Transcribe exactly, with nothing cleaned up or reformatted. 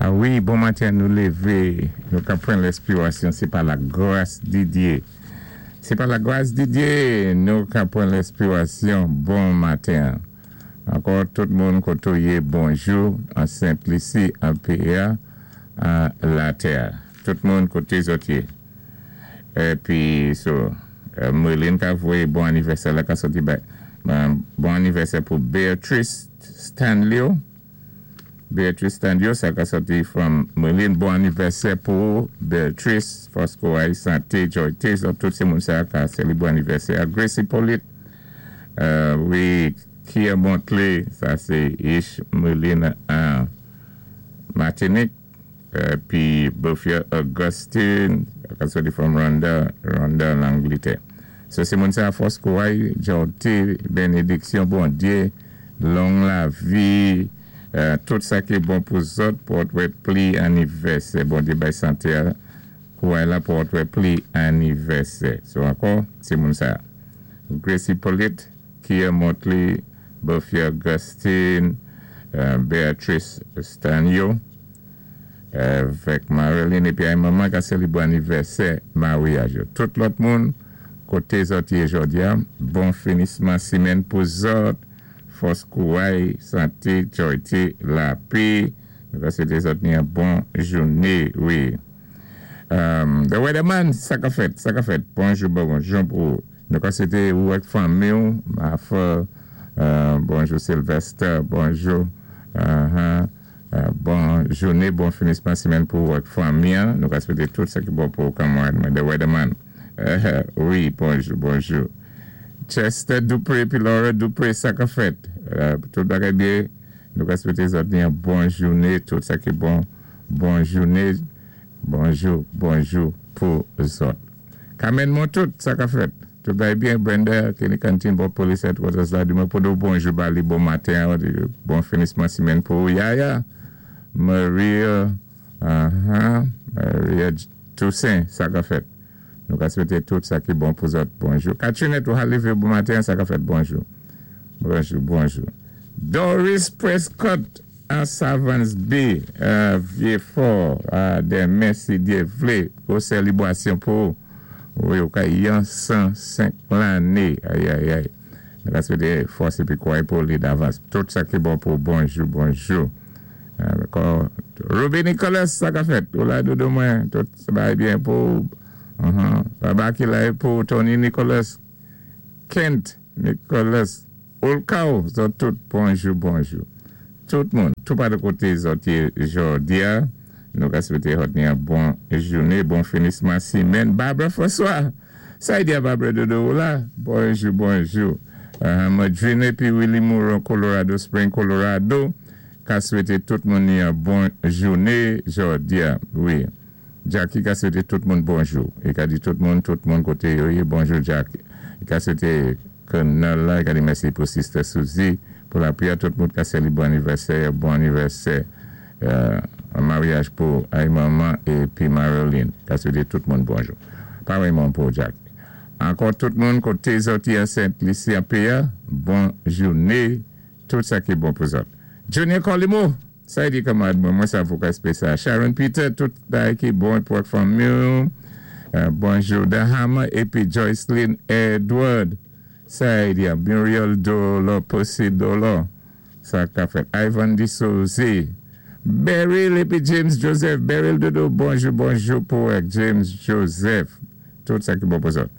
Ah wi, bon maten, nou lévé, nou ka pran lespirasyon, sé pa lagras di Diyé. Sé pa lagras di Diyé, nou ka pran lespirasyon, bon maten. Ankò, tout moun koté ou yé, bonjou, an Sent-Lisi, an péyi-a, an latè. Tout moun koté zòt yé. Épi, so, euh, Merlin ka voyé bon anivèsè la ka sòti bay. Bon anivèsè pou Beatrice Stanley. Beatrice Stanley, sa ka sòti from Merlin. Bon anivèsè pou Beatrice, fòs kouray, santé, jòyté, so, tout sé moun sa ka sélibwé anivèsè. Gracie Polite, euh, wi, Kia Montley, sa sé Ish Merlin an Martinique. Épi Bofia Augustine, ka sòti from Rhonda, Rhonda Langletè. So sé moun sa fòs kouray, jòyté, bénédiksyon, Bondyé, long lavi, euh, tout sa ki bon pou zòt, pou wè pli anivèsè. Bondyé bay santé, kouray la pou wè pli anivèsè. So ankò, sé moun sa. Gracie Polite, Kia Motley, Bofia Augustine, euh, Beatrice Stanio, avèk Marilyn, épi ay manman ka sélibwé anivèsè maryaj. Tout lòt moun, koté zòt yé jòdi-a, bon finisman simenn pou zòt, fòs kouray, santé, jòyté, lapè, nou ka swété zòt ni yon bon jouné, wi. Um, the Weatherman, sa ka fèt, sa ka fèt. Bonjou, bonjou pou nou ka swété ou ak fanmi ou, ma frè, euh, bonjou Sylvester, bonjou, uh-huh. Euh, bon jouné, bon finisman simenn pou ak fanmi. Nou ka swété tout sa ki bon pou kanmarad, The Weatherman. Euh, wi, bonjou, bonjou. Chester Dupré, pi Laura Dupré, sa ka fèt. Euh, tout bagay byen, nou ka swété zòt ni yon bon jouné, tout sa ki bon, bon jouné, bonjou, bonjou pou zòt. Carmen Montout, sa ka fèt. Tout bagay byen, Brenda, Kenny Canteen, bon police headquarters la, di mwen pou nou bonjou bali, bon maten, bon finisman simenn pou Yaya, Maria, uh-huh, Maria Toussaint, sa ka fèt. Nou ka swété tout sa ki bon pou zòt, bonjou. Katrine, ou lévé, bon maten, sa ka fèt, bonjou. Bonjou, bonjou. Doris Prescott, an Savans Bay, euh, Vieux-Fort, euh, denmen si Diyé vlé, pou sélibwasyon pou, wi, ou ka yon san senk lanné, ay, ay, ay. Nou ka swété fòs épi kouray pou li davans. Tout sa ki bon pou bonjou, bonjou. Euh, Ruby Nicholas, sa ka fèt. Ou la doudou mwen, tout sa va byen pou, uh-huh. Baba ki la pou Tony Nicholas, Kent Nicholas, Olkao, zòt tout, bonjou, bonjou. Tout moun, tout pa de koté zòt yé jòdi-a, nou ka swété zòt ni yon bon jouné, bon finisman simenn. Barbara François, sa y di a Barbara doudou ou la, bonjou, bonjou. Uh, Madrine pi Willie Moore, Colorado Spring, Colorado, ka swété tout moun ni yon bon jouné jòdi-a, wi. Jackie ka swété tout moun bonjou. I ka di tout moun, tout moun koté yo yé, bonjou Jackie. I ka swété Colonel la, i ka di mèsi pou Sister Suzy, pou lapriyè, tout moun ka sélibwé anivèsè, bon anivèsè, euh, maryaj pou ay manman épi Marilyn. Ka swété tout moun bonjou. Pa moun pou Jackie. Ankò tout moun koté zòt yé Sent-Lisi an péyi-a, bon jouné, tout sa ki bon pou zòt. Junior Colimo, sa y di kanmarad mwen, mwen sa avoka espesyal. Sharon Peter, tout bagay ki bon pou fanmi. Euh, bonjou Dahama épi Joycelyn Edward. Sa y di Muriel Dolo, Pussy Dolo. Sa ka fèt. Ivan Di Souzy. Beryl épi James Joseph. Beryl Dodo, bonjou, bonjou pou James Joseph. Tout sa ki bon pou zòt.